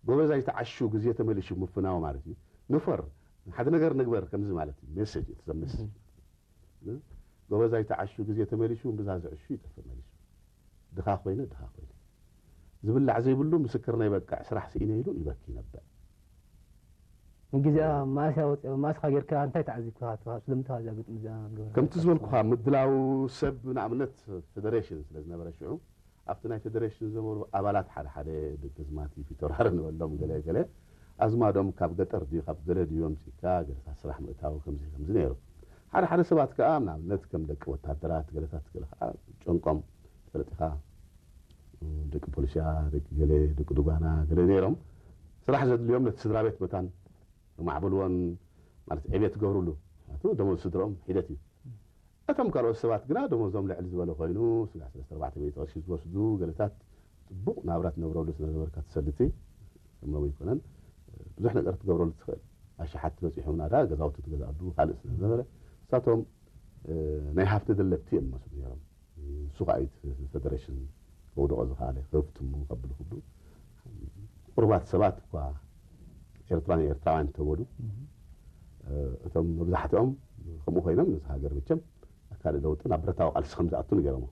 ጎበዝ ኣይተዓሹ ግዜ ተመሊሹ ምፍናው ማለት እዩ። ንፈር፣ ሓደ ነገር ንግበር ከምዚ ማለት እዩ። ሜሴጅ እዩ፣ እቲ ሰብ ሜሴጅ። ጎበዝ ኣይተዓሹ ግዜ ተመሊሹ፣ ብዛ ዝዕሹ ይጠፍእ መሊሱ። ድኻ ኮይነ፣ ድኻ ኮይነ። ዝብላዕ ዘይብሉ ምስክርና ይበቅዕ፣ ስራሕ ስኢነ ኢሉ ይበኪ ይነብዕ። ግዜኣ ማእስያ ወፂኦ፣ ማእስኻ ጌርካ እንታይ ተዓዚብካ? ስለምንታይ እዚኣ ግጥሚ እዚኣ ገበርካ? ከምቲ ዝበልኩኻ፣ ምድላው ሰብ፣ ንኣብነት ፌደሬሽን ስለ ዝነበረ ሽዑ፣ ኣብቲ ናይ ፌደሬሽን ዝነበሩ ኣባላት ሓደ ሓደ ደገዝማቲ ፊተውራሪ ንበሎም፣ ገለ ገለ ኣዝማዶም ካብ ገጠር ድዩ ካብ ገለ ድዩ ኣምፂእካ ገለታት ስራሕ ምእታው ከምዚ ከምዚ ነይሩ። ሓደ ሓደ ሰባት ከዓ ንኣብነት ከም ደቂ ወታደራት ገለታት ገለ ከዓ ጨንቆም፣ ትፈልጥ ኢኻ፣ ደቂ ፖሊስያ፣ ደቂ ገለ፣ ደቂ ዱጋና ገለ ነይሮም። ስራሕ ዘድልዮም ነቲ ስድራ ቤት መታን ማዕበልዎን ማለት ዕቤት ትገብርሉ። ምኽንያቱ ደሞዝ ስድርኦም ሒደት እዩ። እቶም ካልኦት ሰባት ግና ደሞዞም ልዕሊ ዝበለ ኮይኑ፣ ስጋዕ ሰለስተ ኣርባዕተ ሚእቲ ቅርሺ ዝወስዱ ገለታት፣ ጽቡቕ ናብራ ትነብረሉ ስለ ነበርካ ትሰልቲ፣ ከም ሎሚ ኣይኮነን፣ ብዙሕ ነገር ትገብረሉ ትኽእል። ኣሽሓት በጺሖም ናዳ ገዛውቲ ትገዝኣሉ ካልእ ስለ ዝነበረ፣ ንሳቶም፣ እ፣ ናይ ሃብቲ ደለብቲ እዮም መስሉ ነይሮም። ንሱ ከዓ እዩ እቲ ፌደሬሽን ከውድቖ ዝኸኣለ፣ ከፍትሙ ከብሉ ክብሉ። ቁሩባት ሰባት እኳ ኤርትራን ኤርትራውያን እንተበሉ፣ እ፣ እቶም መብዛሕትኦም ከምኡ ኮይኖም ነዚ ሃገር መቸም ካልእ ለውጢ ናብ ብረታዊ ቃልሲ ከም ዝኣቱ ንገሮሞ።